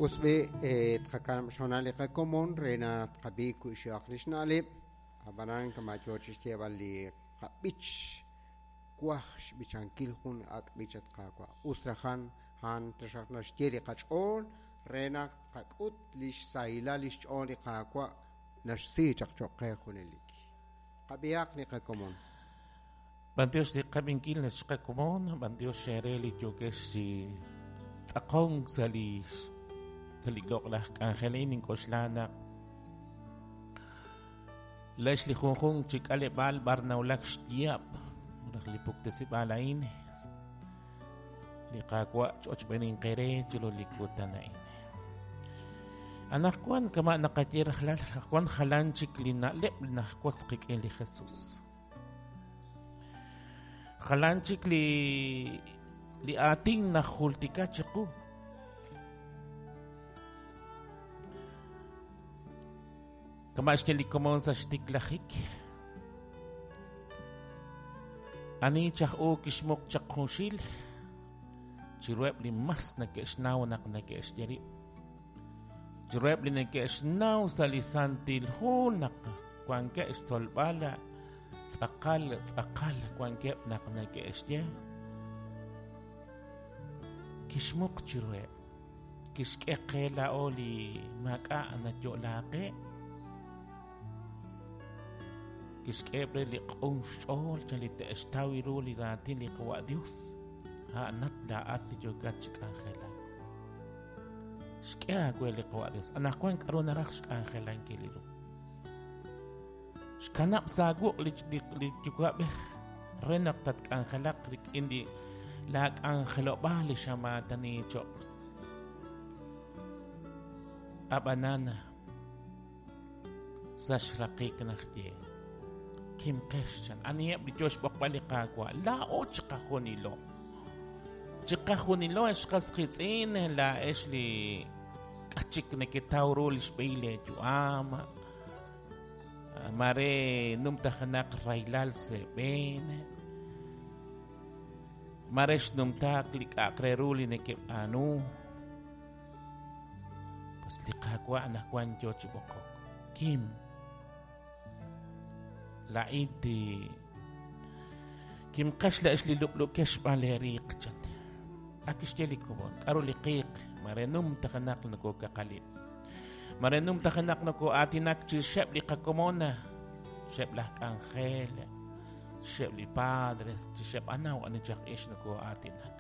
Us b'i' tqakanab' xhoonal li qakomon re naq tqab'i wi'xihaq li xna'leb', ab'anan kama' yo chi xyeeb'al li qab'ich, Twaj xb'ichankil jun ak' b'ich, at Qaawa'. Us rajan a'an taxaq naxye li qach'ool re naq tqak'ut li xsahilal li xch'ool li Qaawa' naxsi chaq cho'q qe junelik. Qab'ihaq li qakomon. B'antiox li qab'inkil qakomon, b'antiox eere li yookex chi tz'aqonk sa' li sa' li loq'laj k'anjel a'in. Nink'oxla naq Lex li junjunq chi k'aleb'aal b'ar nawulak xyaab' malaj li puktesib'aal a'in, li Qaawa' ch'ochb'eninq eere chiru li kutan a'in. Anaqwan kama' naqaye rajlal, wan jalan chik li na'leb' li najwotz qik'in li Jesus. Jalan chik li li aatin najultika chiqu. Kama' xye li komon sa' xtiklajik. Ani chaj u kixmuq chaq junxil chiruheb' li mas neke'xnaw naq neke'xye rib'. Chiruheb' li neke'xnaw sa' li Santil Hu naq wankeb' xtzolb'al tz'aqal tz'aqal wankeb' naq neke'xye kixmuq chiruheb'. Kixk'e qe laa'o li maak'a' nayo'laak qe. Kixk'eheb' re li q'un xch'ool chan li te'xtaw ru li raatin li Qawa' Dios. A'anat laa'at li yookat chi k'anjelak. Xk'e aawe li Qawa' Dios. Anaqwan k'aru naraj xk'anjelankil ru. Xkanab' sa' wuq' li Yuwa'b'ej re naq tatk'anjelaq rik'in li laa k'anjelob'aal li xamaatani cho'q. Ab'anan, sa' xraqik naxye, Kimqex chan, aniheb' li yoo xb'oqb'al li Qaawa'? Laa'o chiqajunilo. Chiqajunilo, ex qas qiitz'in, laa'ex li k'a chik neketaw ru li xb'ehil leeyu'am, Mare numtajenaq rahilal sa' eeb'een, mare xnumtaak li k'a'aq re ru li nekeb'aanu. Pues li Qaawa' anaqwan yoo chi b'oqok. Kim, laa'in ti kimqex la'ex li lub'lukex xb'aan lee riiq, chan. Ak kixye li komon, k'aru li qiiq? Mare numtajenaq nokokaqalib'. Mare numtajenaq noko'aatinak chirixeb' li qakomon, chirixeb' laj k'anjel, chirixeb' li padres, chirixeb' anaw ani chaq ix noko'aatinak.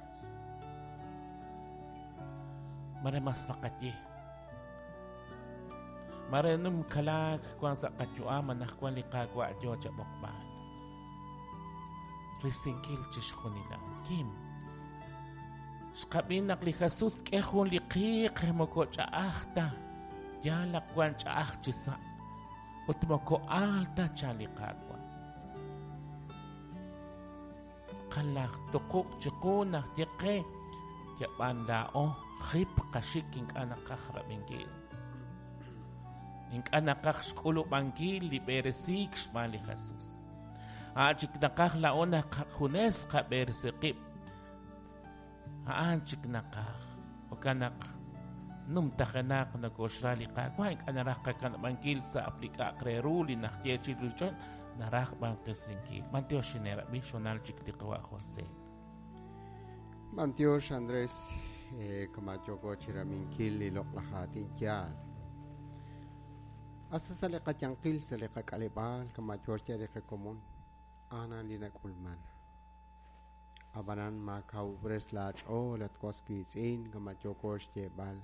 Mare mas naqaye. Mare numkalaak wank sa' qayu'am anaqwan li Qaawa' yoo chab'oqb'al. Risinkil chixjunil a'an. Kim. Xqab'i naq li Jesus k'e jun li qiiq moko ch'a'aj ta, yaal naq wan ch'a'aj chi sa', ut moko aal ta chan li Qaawa'. Tz'aqal laj tuqub' chiqu naq ye qe, yab'an laa'o jip qaxik ink'a' naqaj rab'inkil. Ink'a' naqaj xk'ulub'ankil li b'eresiik xb'aan li Jesus. A' chik naqaj laa'o naq junes qab'eresi qib'. A'an chik naqaj. Jo'kan naq numtajenaq nokoxra li Qaawa', ink'a' naraj qakanab'ankil sa' li k'a'aq re ru li naxye chi ruuchol, naraj b'an qisinkil. B'antiox xineerab'i xonal chik li qawa' José. B'antiox Andrés, kama' yooko chiraminkil li loq'laj aatin yaal. Hasta sa' li qayanqil, sa' li qak'aleb'aal, kama' yoo xye li qakomon, a'an li nak'ulman. Ab'anan maakawub'res laach'ool, at was wiitz'in, kama' yooko xyeeb'al.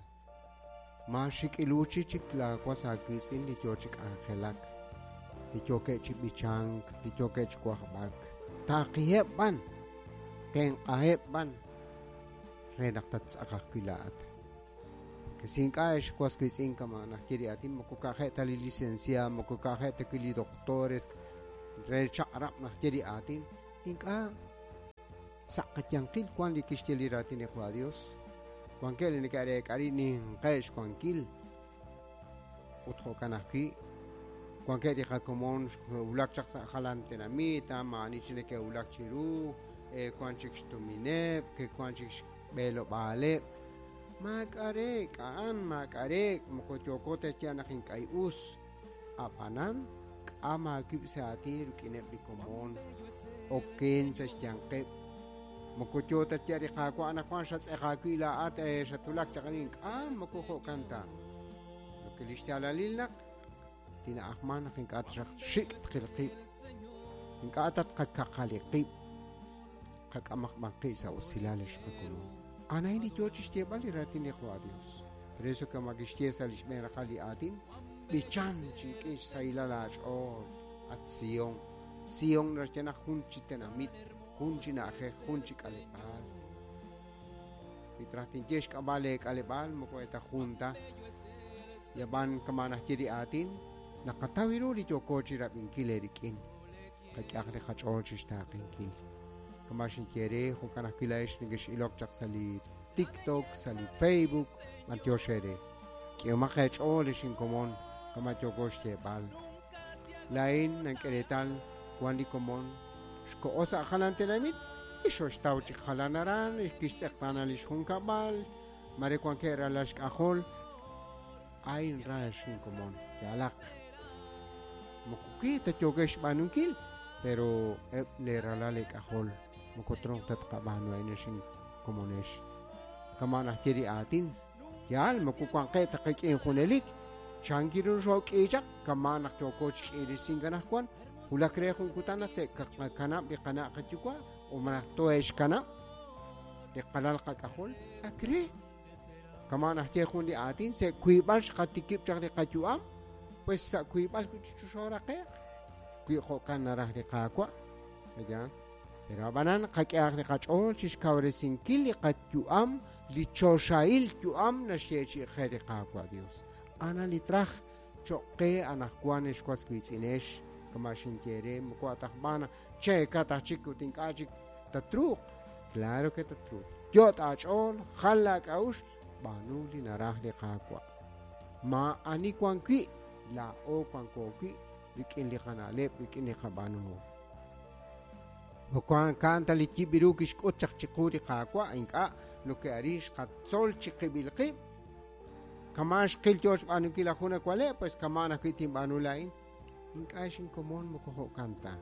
Maaxik'iluuchi chik laawas aawiitz'in li yo chi k'anjelak, li yookeb' chi b'ichank, li yookeb' chi wajb'ak. Taaqiheb' b'an, tenq'aheb' b'an, re naq tattz'aq ajwi' laa'at. Porque si ink'a' ex was wiitz'in kama' naxye li aatin, moko ka'ajeb' ta li licenciado, moko ka'ajeb' ta wi' li doctores re chaq'rab' naxye li aatin, Ink'a' sa' qayanqil wank li kixye li raatin li Qwa Dios. Wankeb' li neke'reek'a rib' ninqeb' xwankil. Ut jo'kan ajwi', wankeb' li qakomon xe'wulak chaq sa' jalan tenamit, maa'ani chik neke'wulak chiru, wank chik xtumineb', ke'wank chik xb'elob'aaleb'. Maak'a' reek' a'an, maak'a' reek', moko yooko ta xyeeb'al naq ink'a' us. Ab'anan, k'am aawib' sa' aatin rik'ineb' li komon, oken sa' xyanqeb'. Moko yoo ta xyeeb'al li Qaawa' anaqwan xatz'eq aawib' laa'at xatwulak chaq arin. K'am, moko jo'kan ta. Lo que li xyaalalil naq li na'ajman naq ink'a' xaq xik' tqil qib', ink'a' ta tqakaqali qib', qak'amaq b'an qib' sa' usilal ex qakomon. A'an li yoo chixyeeb'al li raatin li Qaawa' Dios. Por eso kama kixye sa' li xb'een raqal li aatin, b'ichan chi rik'in xsahilal aach'ool, at Sion. Sion naxye naq jun chi tenamit, jun chi na'ajej, jun chi k'aleb'aal. Wi traj tinye xk'ab'a' lee k'aleb'aal, moko eta jun ta. Yab'an kama naxye li aatin, naqataw ru li yooko chi rab'inkil eerik'in. Qak'ehaq li qach'ool chixtaaqenkil. Kama xinye re, jo'kan ajwi' laa'ex nekex'ilok chaq sa' li TikTok, sa' li Facebook, b'antiox eere. K'ehomaq eech'ool ex inkomon, kama yooko xyeeb'al. Laa'in nank'e reetal wan li komon xko'o sa' jalan tenamit, ixoxtaw chik jalan aran, kixtz'eqtaana li xjunkab'al, mare wankeb' ralal xk'ajol. A'in ra ex inkomon, yaalaq. Moko ki ta yookex xb'aanunkil, pero eb' lee ralal eek'ajol moko tronq ta tqab'aanu a'in ex inkomonex. Kama naxye li aatin, yaal moko wanqeb' ta qik'in junelik, chanki ru xook'i chaq, kama naq yooko chi k'iirisink anaqwan, wulak re jun kutan naq te'qakanab' li qana' qayuwa' o malaj tohe'xkanab' li qalal qak'ajol, ak re. Kama naxye jun li aatin, sa' wiib'al xqatikib' chaq li qayu'am, pues sa' wiib'al wi' chi xooraqe'q. Wi jo'kan naraj li Qaawa', ayan. Pero ab'anan qak'ehaq li qach'ool chixkawresinkil li qayu'am, li choxahil yu'am naxyeechi'i qe li Qaawa' Dios. Ana li traj cho'q qe anaqwan ex was wiitz'inex, kama xinye re, moko atajb'aan cheekat aj chik ut ink'a' chik tatruuq. Claro que tatruuq. Yot' aach'ool, jal laak'a'uxl, b'aanu li naraj li Qaawa'. Maa'ani wan wi', laa'o wanko wi' rik'in li qana'leb', rik'in li qab'aanuhom. Moko a'an ta li yib' ru kixk'ut chaq chiqu li Qaawa', ink'a' noke'arin xqatzol chiqib'il qib'. Kama xqil yoo xb'aanunkil aj jun awaleb', pues kama ajwi' tinb'aanu laa'in. Ink'a' xinkomon moko jo'kan ta.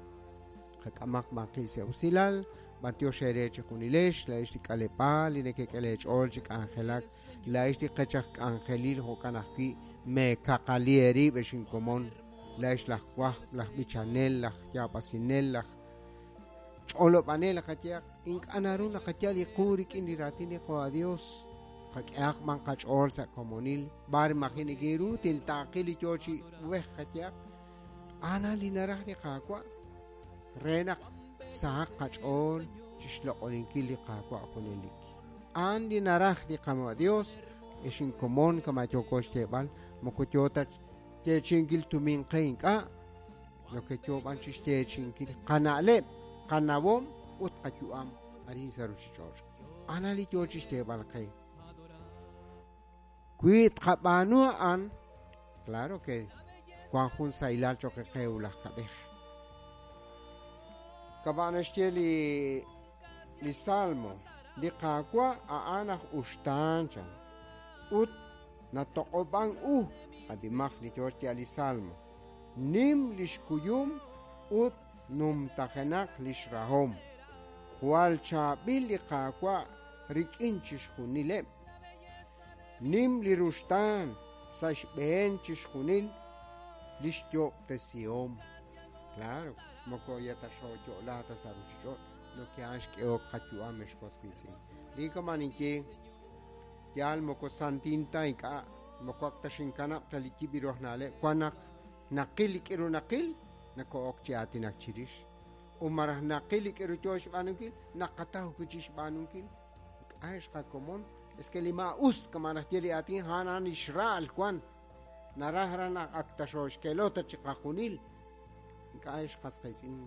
Qak'amaq b'an qib' sa' usilal, b'antiox eere chijunilex, laa'ex li k'aleb'aal, li nekek'e leech'ool chi k'anjelak, laa'ex li qech aj k'anjelil jo'kan ajwi' meekaqali eerib' ex inkomon, laa'ex laj wajb', laj b'ichanel, laj yaab'asinel, laj ch'olob'anel qayehaq, ink'a' naru naqayal li qu rik'in li raatin li Qaawa' Dios. Qak'ehaq b'an qach'ool sa' komonil, b'ar maji' neke'ru tintaaqi li yoo chi b'ej qayehaq. Ana li naraj li Qaawa' re naq sahaq qach'ool chixloq'oninkil li Qaawa' junelik. A'an li naraj li Qaawa' Dios, ex inkomon kama yooko xyeeb'al, moko yoo ta xyeechi'inkil tumin qe ink'a', lo que yoo b'an chixyeechi'inkil qana'leb', qanawom ut qayu'am arin sa' ruchich'och'. Ana li yoo chixyeeb'al qe. Wi tqab'aanu a'an, claro que wan jun sahilal cho'q qe wulaj kab'ej. Kama naxye li Salmo, li Qaawa' a'an aj uxtaan chan ut natoq'ob'an u, ab'imaq li yoo xyeeb'al li Salmo. Nim li xkuyum ut numtajenaq li xrahom. Jwal chaab'il li Qaawa' rik'in chixjunileb'. Nim li ruxtaan sa' xb'een chixjunil li xyo'ob'tesihom. Claro, moko ya ta xoyo'la ta sa' ruchich'och', lo que a'an xk'ehok qayu'am ex was wiitz'in. Li kama ninye, yaal moko santin ta ink'a', moko ak ta xinkanab' ta li yib' ru aj na'leb', wan naq naqil li k'iru naqil, nako'ok chi aatinak chirix. U maraj naqil li k'iru yoo xb'aanunkil, naqataw wi' chi xb'aanunkil. Ink'a' ex qakomon, es que li maa'us kama naxye li aatin, a'an a'an li xra'al wan. Naraj ra naq ak ta xoxkelota chi qajunil. Ink'a' ex qas qiitz'in.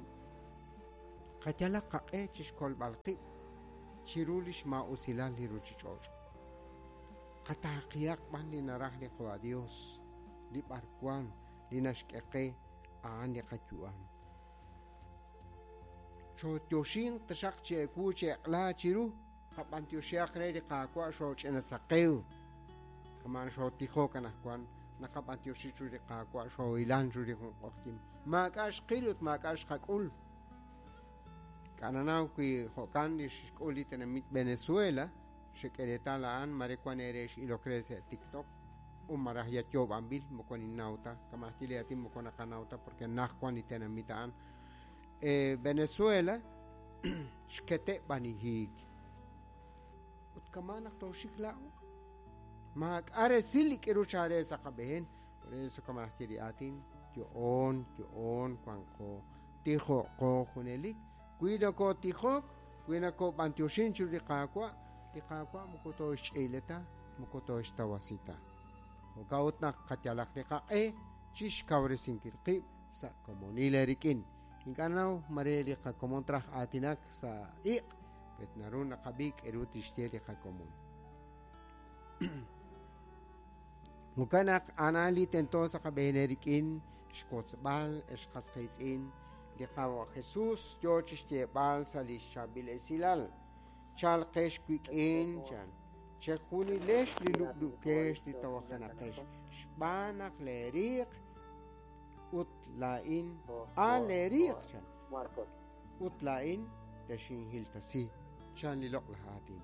Qayalaq qaq'e chixkolb'al qib' chiru li xmaa'usilal li ruchich'och'. Qataaqihaq b'an li naraj li Qaawa' Dios, li b'arwan, li naxk'e qe, a'an li qayu'am. Chotyoxinq taxaq chi ewu chi eq'la chiru, Qab'antioxihaq re li Qaawa' xooch'ina saqew. Kaman xootijok anaqwan naqab'antioxi chiru li Qaawa' xoohilan chiru li jun q'oqyink. Maak'a' xqil ut maak'a' xqak'ul. K'ananaw wi jo'kan li xk'ul li tenamit Venezuela, xek'e reetal a'an mare wan eere x'ilok re sa' TikTok u malaj ya yoob'anb'il moko ninnaw ta kama' ajwi' li aatin moko naqanaw ta porque naj wan li tenamit a'an. Venezuela xkete' b'anihiik. Ut kama' naq tooxik laa'o maak'a' resil li k'iru chaare sa' qab'een. Por eso kama' najye li aatin yo'oon yo'oon wanqo tijo'qo junelik. Wi nokotijok, wi nokob'antioxin chiru li Qaawa', li Qaawa' moko tooxch'iile ta, moko tooxtawasi ta. Jo'kan ut naq qayalaq li qaq'e chixkawresinkil qib' sa' komonil eerik'in. Ink'a' naw mare li qakomon traj aatinak sa' iq', pet naru naqab'i k'eru tixye li qakomon. Jo'kan naq a'an li tento sa' qab'een eerik'in xkotzb'al ex qas qiitz'in li Qaawa' Jesús yoo chixyeeb'al sa' li xchaab'il esilal. Chalqex wik'in chan chejunilex li lub'lukex li tawajenaqex xb'aan naq leeriiq ut laa'in a leeriiq chan ut laa'in texinhiltasi chan li loq'laj aatin.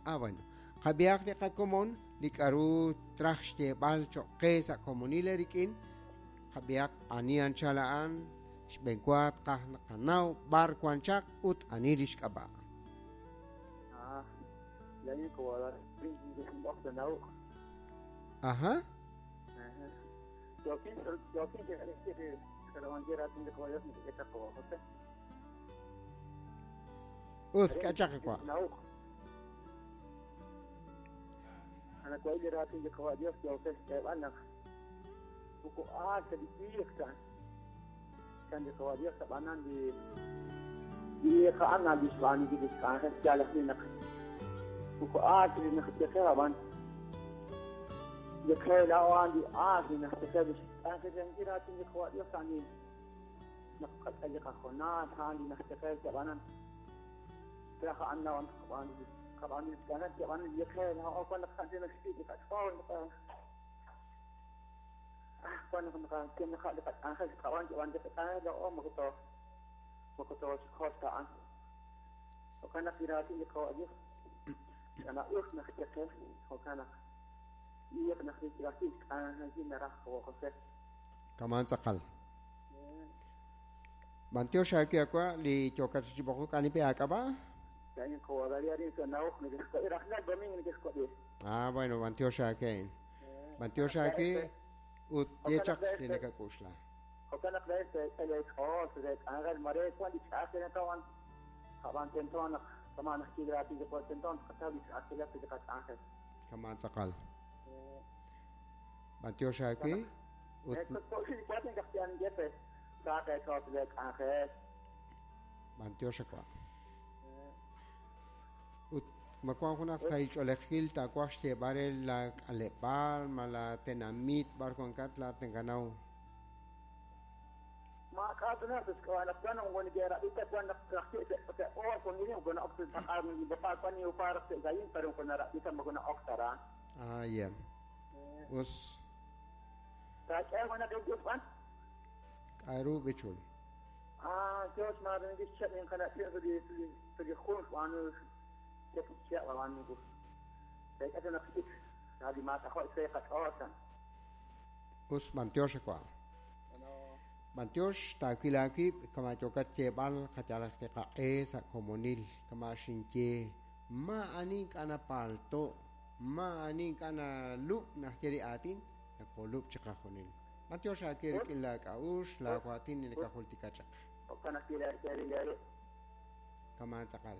Ah, bueno. Qab'ihaq li qakomon li k'aru traj xyeeb'al cho'q qe sa' komonil eerik'in. Qab'ihaq ani anchal a'an xb'eenwa tqaj naqanaw b'ar wan chaq ut ani li xk'ab'a'. Ajá. Us k'achaq wa. Kaman tz'aqal. B'antiox aawe akwa li yookat chi b'oqok ani pe aak'ab'a'? Ah, bueno, b'antiox aawe. B'antiox aawe ut ye chaq li nakak'uxla. Kaman tz'aqal. B'antiox aawe ut b'antiox akwa. Ut ma wan junaq sahil ch'oolejil taawaj xyeeb'al re la k'aleb'aal ma la tenamit b'ar wankat laat nakanaw. Ah, ya. Us k'aru b'ichul. Us b'antiox akwa. B'antiox taawil aawib' kama yookat xyeeb'al qayalaq li qaq'e sa' komonil kama xinye ma ani ink'a' napalto' ma ani ink'a' nalub' najye li aatin nakolub' chiqajunil. B'antiox aawe rik'in laak'a'uxl laawaatin li nakajultika chaq. Kaman tz'aqal.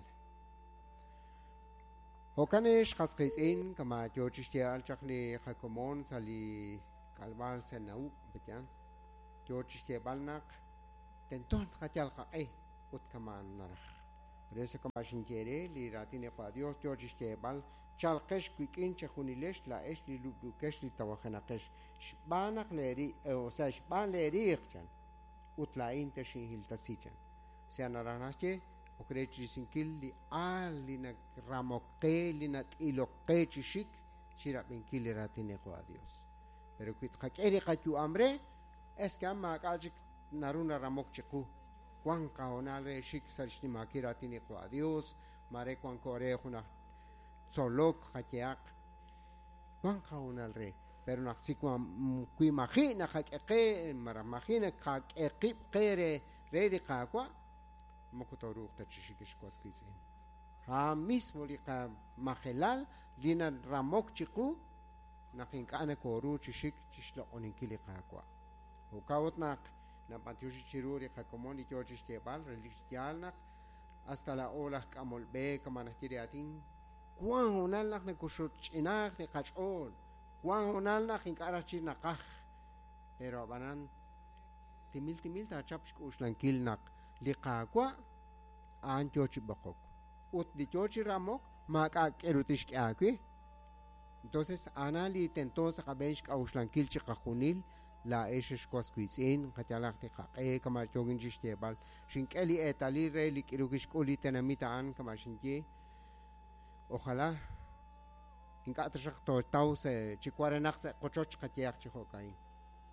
Jo'kan ex qas qiitz'in kama yoo chixyeeb'al chaq li qakomon sa' li k'alb'al sa' na'ub' peyan yoo chixyeeb'al naq tento tqayal qaq'e ut kama naraj. Por eso kama xinye re li raatin li Qaawa' Dios yoo chixyeeb'al chalqex wik'in chejunilex laa'ex li lub'lukex li tawajenaqex xb'aan naq leeri o sea xb'aan leeriiq chan ut laa'in texinhiltasi chan. O sea naraj naxye Ok re chi risinkil li aal li naramok qe, li nat'ilok qe chi xik chi rab'inkil li raatin li Qaawa' Dios. Pero wi tqak'e li qayu'am re, es que maak'a' chik naru naramok chiqu. Wan qahoonal re xik sa' xnimankil raatin li Qaawa' Dios, mare wanko re junaj tzolok qayehaq. Wan qahoonal re, pero naq si wi maji' naqak'e qe, malaj maji' naqak'e qib' qe re li Qaawa', moko tooruuq ta chi xik xwas qiitz'in. Ha mismo li qamajelal li naramok chiqu naq ink'a' nakooru chi xik chi xloq'oninkil li Qaawa'. Jo'kan ut naq nab'antioxi chiru li qakomon li yoo chi xyeeb'al relik yaal naq hasta laa'o laj k'amol b'e kama najye li aatin wan hoonal naq nakuxutch'inaaq li qach'ool, wan hoonal naq ink'a' raj chi naqaj, pero ab'anan timil timil taachap xk'uxlankil naq li Qaawa' a'an yoo chi b'oqok ut li yoo chi ramok maak'a' k'eru tixk'e aawe. Entonces ana li tento sa' qab'een xk'a'uxlankil chi qajunil laa'ex xwas wiitz'in qayalaq li qaq'e kama yookin chi xyeeb'al xink'e li eetalil re li k'iru kixk'ul li tenamit a'an kama xinye. Ojalá ink'a' taxaq tootaw sa' chi warenaq sa' qochoch qayehaq chi jo'ka'in.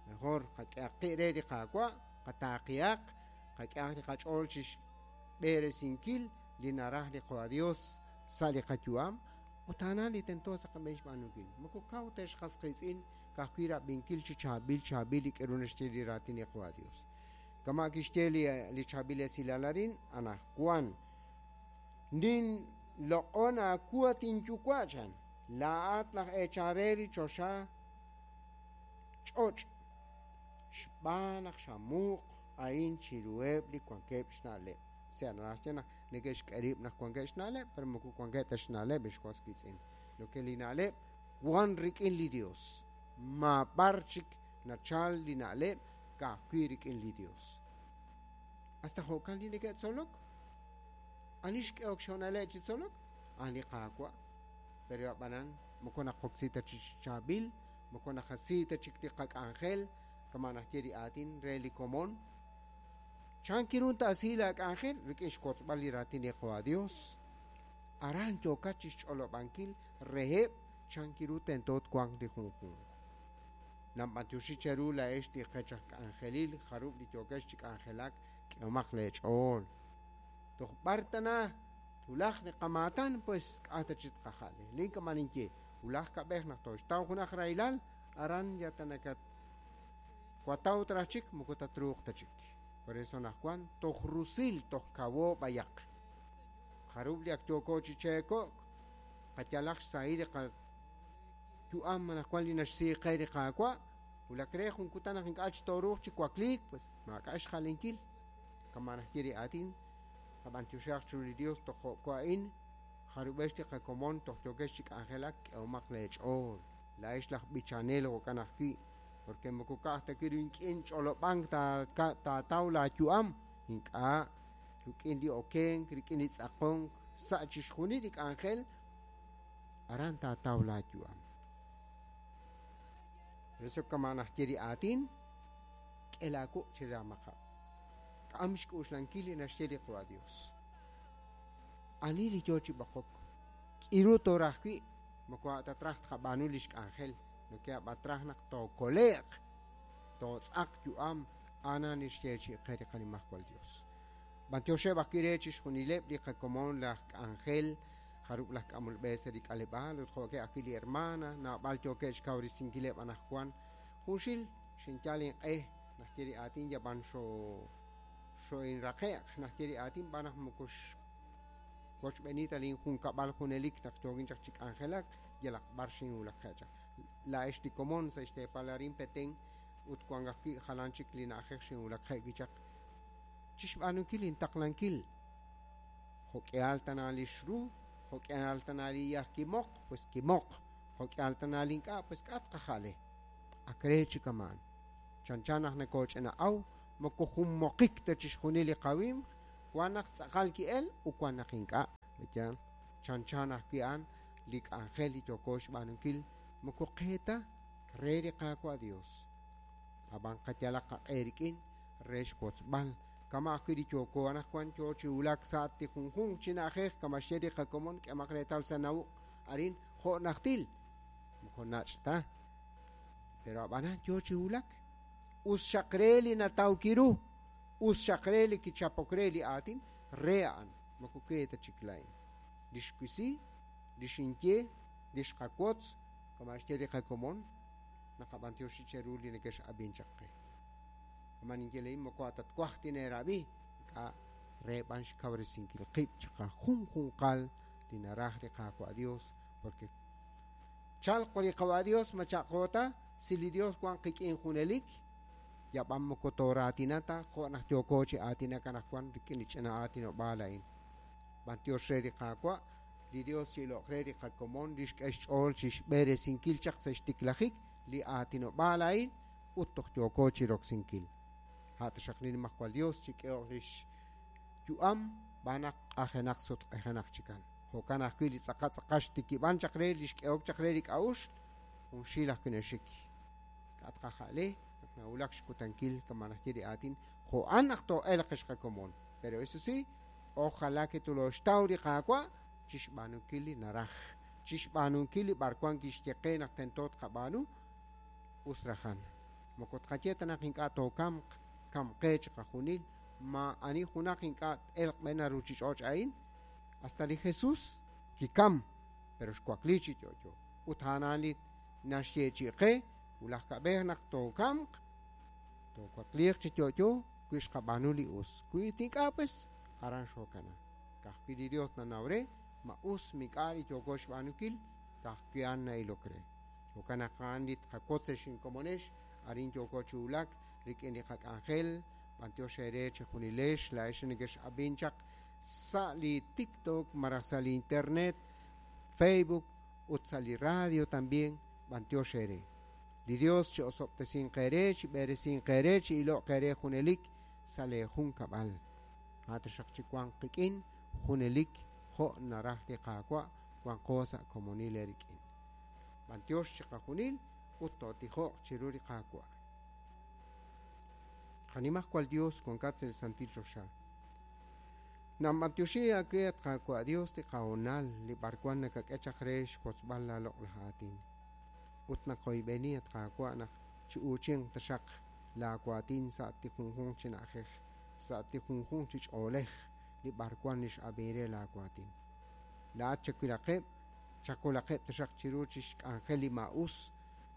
Mejor qak'ehaq qi' re li Qaawa', qataaqihaq, qak'ehaq li qach'ool chi xb'eresinkil li naraj li Qaawa' Dios sa' li qayu'am ut a'an li tento sa' qab'een xb'aanunkil. Moko kaw ta xqas qiitz'in ka'ajwi' rab'inkil chi chaab'il chaab'il li k'eru naxye li raatin li Qaawa' Dios. Kama kixye li chaab'il esilal arin anaqwan nin loq'on aawu at inyuwa' chan laa'at laj eechal re li choxa ch'och' xb'aan naq xamuuq a'in chiruheb' li wankeb' xna'leb'. Sea naraj xye naq neke'xk'e rib' naq wankeb' xna'leb', pero moko wankeb' ta xna'leb' xwas qiitz'in. Lo que li na'leb' wan rik'in li Dios. Maab'ar chik nachal li na'leb' ka'ajwi' rik'in li Dios. Hasta jo'kan li neke'tzolok. Ani xk'ehok xhoonaleb' chi tzolok? A'an li Qaawa'. Pero ab'anan moko naqoksi ta chi chaab'il, moko naqasi ta chik li qak'anjel, kama najye li aatin re li komon. Chan kirun taasi la k'anjel rik'in xwotzb'al li raatin li Qaawa' Dios. Aran yookat chi xch'olob'ankil reheb' chan kiru tento twanq li junjunq. Namb'antioxi cheru laa'ex li qech aj k'anjelil jarub' li yookex chi k'anjelak k'ehomaq leech'ool. Toj b'ar tana tulaj li qamaatan pues k'a' ta chi tqaja'le. Lin kama ninye wulaj kab'ej naq toxtaw junaj rahilal aran ya tanakat wataw taraj chik moko tatruuq ta chik. Por eso anaqwan toj rusil toj kawo b'ayaq. Jarub' li ak yooko chi cheeko'k qayalaq xsahil li qayu'am anaqwan li naxsii qe li Qaawa' wulak re jun kutan naq ink'a' chi tooruuq chi wakliik pues maak'a' xjalenkil. Kama najye li aatin qab'antioxaq chiru li Dios toj jo'ko a'in jarub'ex li qakomon toj yookex chi k'anjelak k'ehomaq leech'ool. Laa'ex laj b'ichanel jo'kan ajwi' porque moko ka'aj ta wi' rik'in ch'olob'ank taataw laayu'am ink'a' rik'in li okenk rik'in li tz'aqonk sa' chixjunil li k'anjel aran taataw laayu'am. Eso kama najye li aatin k'e laawu' chi raamaqab'. K'am xk'uxlankil li naxye li Qaawa' Dios. Ani li yoo chi b'oqok k'iru tooraj wi' moko a' ta traj tqab'aanu li xk'anjel lo que ab'atraj naq tookole'q tootz'aq yu'am ana nixye chi qe li qanimajwal Dios. B'antioxeb' ajwi' re chixjunileb' li qakomon laj k'anjel jarub' laj k'amol b'e sa' li k'aleb'aal ut jo'keb' ajwi' li hermana naab'al yookeb' xkawresinkileb' anaqwan junxil xinyal inq'e najye li aatin yab'an xo'inraqe'q najye li aatin b'an naq moko wochb'eni ta lin junkab'al junelik naq yookin chaq chi k'anjelak yalaq b'ar xinwulak chaq. Laa'ex li komon sa' xteepal arin Petén ut wan ajwi' jalan chik li na'ajej xinwulak je'wi chaq chixb'aanunkil intaqlankil. Jo'k'ihal tana li xru, jo'k'ihal tana li yaj kimoq, pues kimoq, jo'k'ihal tana li ink'a', pues k'a' tqaja'le. Ak re chi kamaan. Chanchan naq nakooch'ina'aw, moko junmoqik ta chixjunil li qawimq, wan naq tz'aqal ki'el ut wan naq ink'a'. Yaal, chanchan ajwi' a'an li k'anjel li yooko xb'aanunkil moko qe ta re li Qaawa' Dios. Ab'an qayalaq qaq'e rik'in re xwotzb'al Kama' ajwi' li yooko anaqwan yo chi wulak sa' li junjunq chi na'ajej kama' xye li qakomon k'emaq reetal sa' nawuq' arin jo' najtil moko nach' ta. Pero ab'anan yo chi wulak. Us xaq re li nataw kiru, us xaq re li kichapok re li aatin re a'an, moko we ta chik laa'in. Li xwisi, li xinye, li xqawotz, kama' xye li qakomon, naqab'antioxi cheru li nekex'ab'in chaq qe. Kama' ninye laa'in moko atatwaj tineerab'i, ink'a' re b'an xkawresinkil qib' chiqajunjunqal li naraj li Qaawa' Dios, porque chalq li Qaawa' Dios ma chaq'o ta, si li Dios wan qik'in junelik, yab'an moko tooraatina ta jo' naq yooko chi aatinak anaqwan rik'in li ch'ina aatinob'aal a'in. B'antiox re li Qaawa', li Dios chi'iloq re li qakomon li xk'e xch'ool chixb'eresinkil chaq sa' xtiklajik li aatinob'aal a'in ut toj yooko chiroksinkil. A' taxaq li Nimajwal Dios chik'ehoq lix yu'am b'an naq q'ajenaq sutq'ejenaq chikan. Jo'kan ajwi' li tz'aqal tz'aqal xtikib'an chaq re li xk'ehok chaq re li k'a'uxl, junxil ajwi' naxik. K'a' tqaja'le naq nawulak xkutankil kama' naxye li aatin, jo'an naq too'elq ex qakomon. Pero eso sí, ojalá que tulooxtaw li Qaawa' chixb'aanunkil li naraj, chixb'aanunkil li b'arwan kixye qe naq tento tqab'aanu, us rajan. Moko tqaye ta naq ink'a' tookamq, kamqe chiqajunil, maa'ani junaq ink'a' t-elq b'e na ruchich'och' a'in, hasta li Jesús kikam, pero xwakli chi yo'yo. Ut a'an li naxyeechi'i qe, wulaj kab'ej naq tookamq, toowakliiq chi yo'yo wi xqab'aanu li us. Wi ink'a' pues, aran xookana. Ka'ajwi' li Dios nanaw re, ma us mik'a' li yooko xb'aanunkil, ka'ajwi' a'an na'ilok re. Jo'kan naq a'an li tqawotz ex inkomonex, arin yooko chi wulak rik'in li qak'anjel, b'antiox eere chejunilex, laa'ex nekex'ab'in chaq sa' li TikTok, malaj sa' li internet, Facebook, ut sa' li radio también, b'antiox eere. Li Dios chi'osob'tesinq eere, chib'eresinq eere, chi'iloq eere junelik sa' lee junkab'al. A' taxaq chiwanq qik'in junelik jo' naraj li Qaawa' wanqo sa' komonil eerik'in. B'antiox chiqajunil ut tootijoq chiru li Qaawa'. Qanimajwal Dios wankat sa' li santil choxa. Namb'antioxi aawe at Qaawa' Dios li qahoonal li b'arwan nakak'e chaq re xwotzb'al la loq'laj aatin. Ut naqoyb'eni at Qaawa' naq chi'uuchinq taxaq laa waatin sa' li junjunq chi na'ajej, sa' li junjunq chi ch'oolej li b'arwan li x'ab'in re laa waatin. Laa'at chawilaqeb', chakolaqeb' taxaq chiru chixk'anjel li maa'us,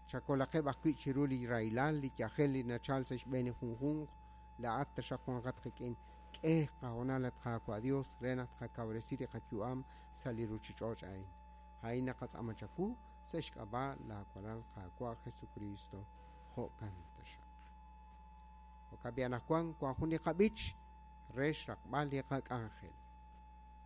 chakolaqeb' ajwi' chiru li rahilal, li yajel li nachal sa' xb'een li junjunq, laa'at taxaq wanqat qik'in. K'e qahoonal at Qaawa' Dios re naq tqakawresi li qayu'am sa' li ruchich'och' a'in. A'in naqatz'aama chawu sa' xk'ab'a' laawalal Qaawa' Jesucristo. Jo'kan taxaq. Jo'kan b'i anaqwan wan jun li qab'ich re xraqb'al li qak'anjel.